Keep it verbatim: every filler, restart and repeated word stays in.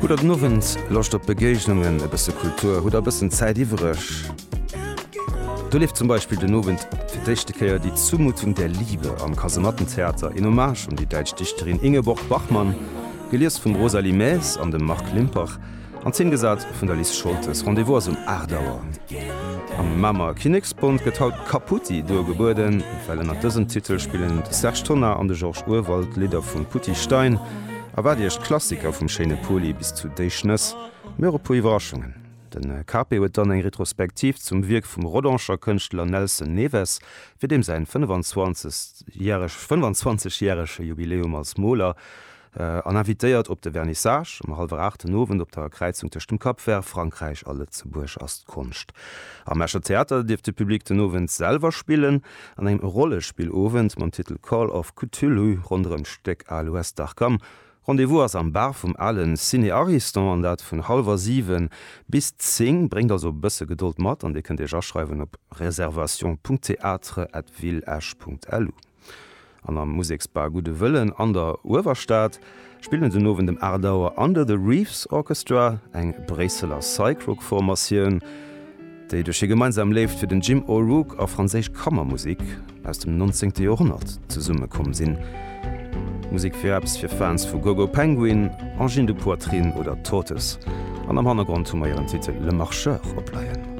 Hutt der den Owend Loscht op Begéignungen, e bësse Kultur, hutt der e bëssen Zäit iwwereg? Do leeft zum Beispill den Owend fir d'éischte Kéier Die Zumutung der Liebe am Kasemattentheater, een Hommage un déi däitsch Dichterin Ingeborg Bachmann, gelies vum Rosalie Maes an dem Marc Limpach, an Zeen gesat vun der Lis Scholtes. Rendez-vous ass um aacht Auer. Am Mamer Kinneksbond gëtt haut Kaputti duergebueden, well ënnert dësem Titel spillen de Serge Tonnar an de Georges Urwald Lidder vum Poutty Stein. Erwaart Iech d'Klassiker vum schéine Poli bis zu Déi Schnëss, mee och e puer Iwwerraschungen. De Cape huet dann eng Retrospektiv zum Wierk vum Rodanger Kënschtler Nelson Neves, fir deem säin fënnwanzwanzeg järege Jubiläum als Moler, an invitéiert op de Vernissage um hallwer aacht den Owend op der Kräizung tëscht dem Cap Vert, Frankräich a Lëtzebuerg ass d'Konscht. Am Escher Theater dierf de Public den Owend selwer spillen an engem Rollespillowend mam Titel Call of Cthulhu ronderëm d'Stéck Al West Arkham. Rendez-vous ass am Bar vum alen Ciné Ariston an dat vun hallwer siwen bis zéng. Bréngt also e bësse Gedold mat an Dir kënnt Iech aschreiwen op reservation.theatre@villeesch.lu. An am Museksbar Gudde Wëllen an der Uewerstad spillen den Owend um aacht Auer Under the Reefs Orchestra, eng Bréisseler Psych-Rock-Formatioun, déi duerch hir gemeinsam Léift fir den Jim O'Rourke a franséisch Kammermusek aus dem nonzéngte Joerhonnert zesummekomm sinn. Musek fir eppes fir Fans vu GoGo Penguin, Angine de Poitrine oder Tortoise. An am Hannergrond hu mer hiren Titel Le Marcheur opleien.